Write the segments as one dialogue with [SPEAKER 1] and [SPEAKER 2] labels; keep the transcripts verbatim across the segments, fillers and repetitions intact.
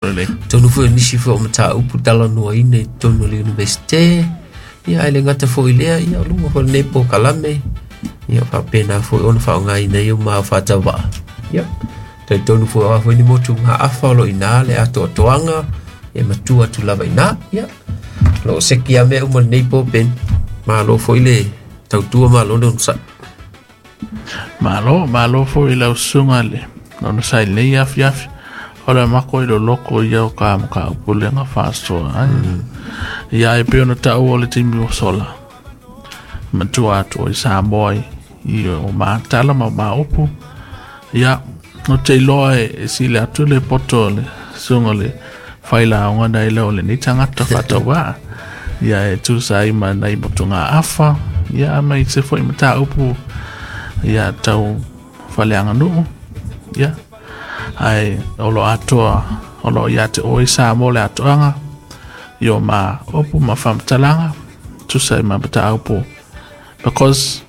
[SPEAKER 1] Lelei.
[SPEAKER 2] Tonu foi o nisi foi o mataupu talanoaina i totonu o le Universite, ia ae le gata foi i lea, ia o luga foi o lenei polokalame, ia faapena foi ona faaaogaina ai o ma faatauvaa. Ia, talitonu foi o a foi ni motugaafa o lo o i ina le atoatoaga e matua atu lava i ina. Ia, o lo o seki lava mea uma i lenei po Ben. Malo foi le tautua, malo le onosai.
[SPEAKER 1] Malo, malo foi i lau susuga le onosai i lenei afiafi. O le mako i loloko ia o ka mataupu lea faasoa ai. Ia e pei ona taua o le taimi ua sola. Matua atu i Samoa i, i o matala ma maupu. Ia, o te iloa e, e sili atu le poto o le susuga o le failaoga nai lo o lenei tagata faatauvaa. Ia e tusa ai ma nai motugaafa. Ia ma i se foi mataupu ia tau faaleaganuu. Ia, ae o lo atoa o lo o ia te oe Samoa le atoaga i o ma upu ma faamatalaga tusa ai ma mataupu, because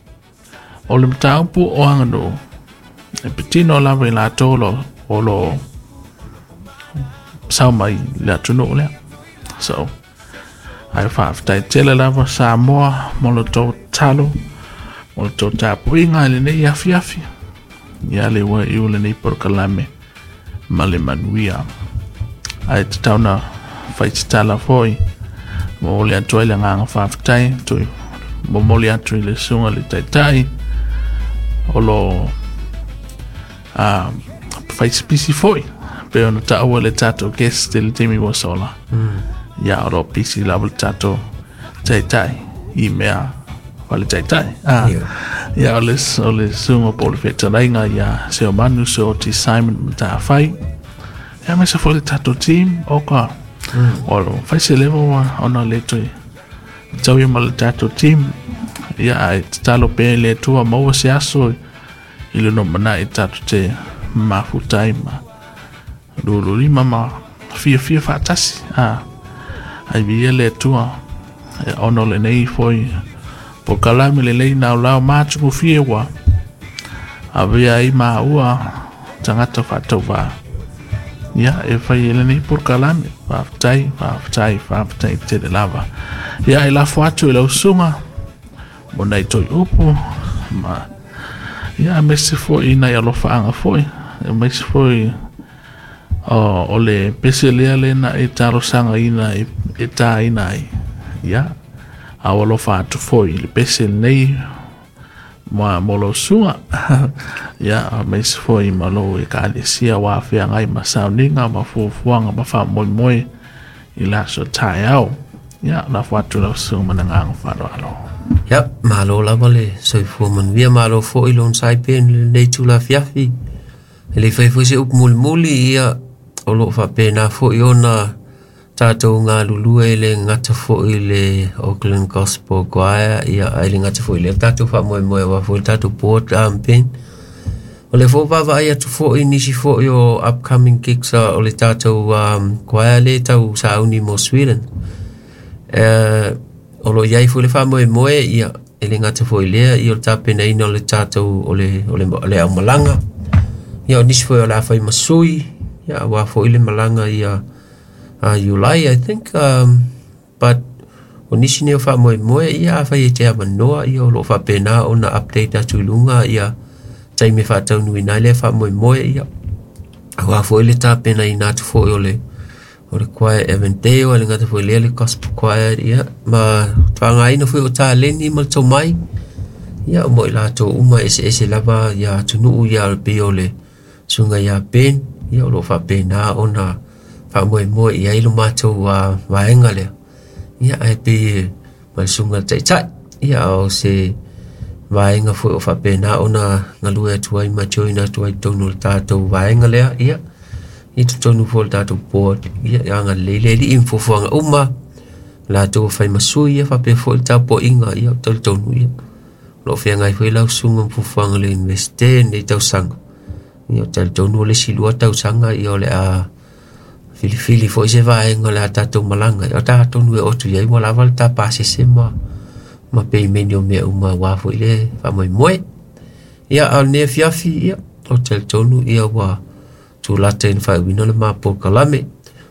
[SPEAKER 1] o le mataupu o aganuu e patino lava i latou o lo o lo sau mai le atunuu lea. So ae faafetai tele lava Samoa mo le tou tatalo, mo le tou tapuaiga i lenei afiafi. Ia le ua iu lenei polokalame ma le manuia. Ae tatau na fai tatala foi momoli atu ai le agaga faafetai, toe momoli atu i le susuga i le Taitai o lo a faisipisi foi pei ona taua le tatou guest i le taimi ua sola. Ia o lo o pisi lava le tatou Taitai i mea faale-taitai. Ah, ia o le, o le susuga po o le fetalaiga ia Seomanu Seoti Simon Matafai. Ia aemaise foi le tatou team o ka o lo fai se level ona le toe tau ma le tatou team. Ia ae tatalo pea i le Atua maua se aso i le lumanai tatou te mafuta ai ma lululima ma fiafia faatasi. Ah, ai viia le Atua ona o lenei foi polokalame lelei naulao ma atugofie ua avea ai maua tagata faatauvaa ia e fai e lenei polokalame. Faafetai, faafetai, faafetai tele lava. Ia e lafo atu i lau susuga mo nai toe upu ma ia aemaise foi nai alofaaga foi, aemaise foi o, o le pese lea le na e talosagaina e, e tāina ai. Ia, a o alofa atu foi i le pese lenei ma mo lau susuga. Ia, aemaise foi ma lou ekalesia ua feagai ma sauniga ma fuafuaga ma faamoemoe i le aso taeao. Ia, lafo atu lau susuga ma le agaga faaaloalo.
[SPEAKER 2] Ia, malo lava le soifua manuia, malo foi le onosai pea i lenei itula afiafi. E le i fai foi se upu mulimuli, ia, o lo o faapena foi ona tatou galulue e le gata foi i le Auckland Gospel Choir, ia, ae le gata foi i lea tatou faamoemoe aua foi le tatou board um, Ben. O le foi vaavaai atu foi nisi foi o upcoming gigs uh, o le tatou um, choir le tau sauni mo Sweden. Uh, o lo o i ai foi le faamoemoe, ia, e le gata foi i lea, ia o le tapenaina o le tatou, o le, o le, o le aumalaga. Ia, o nisi foi o le a fai ma sui, ia, aua foi le malaga ia uh, July, I think, um, but o nisi nei o faamoemoe, ia, afai e te avanoa, ia, o lo o faapena ona update atu i luga, ia, taimi e faataunuuina ai lea faamoemoe, ia, aua foi le tapenaina atu foi o le o le choir Eventeo, e le gata foi i lea le gospel choir, ia, ma faaaogaina foi o taleni ma le tomai, ia, mo i latou uma eseese lava ia atunuu, ia, pei o le susuga ia Ben, ia, o lo o faapena ona faamoemoe i ai lo matou uh, vaega lea, ia, ae pei ma le susuga i le Taitai, ia, o se vaega foi o faapena ona galue atu ai ma join atu ai i totonu o le tatou vaega lea, ia, i totonu foi o le tatou board, ia, agalelei le Alii ma fuafuaga uma latou fai ma sui, ia, faapea foi le tapuaiga, ia, talitonu, ia, o lo o feagai foi lau susuga ma fuafuaga o le Universite lenei tausaga, ia, talitonu o le isi lua tausaga, ia, o le a filifili foi se vaega o le a tatou malaga, ia, o tatou e oo atu i ai ua lava le tapasese ma ma peimeni o mea uma aua foi le faamoemoe. Ia, a o lenei afiafi, ia, o talitonu, ia, ua tulata i le faaiuina o le ma polokalame.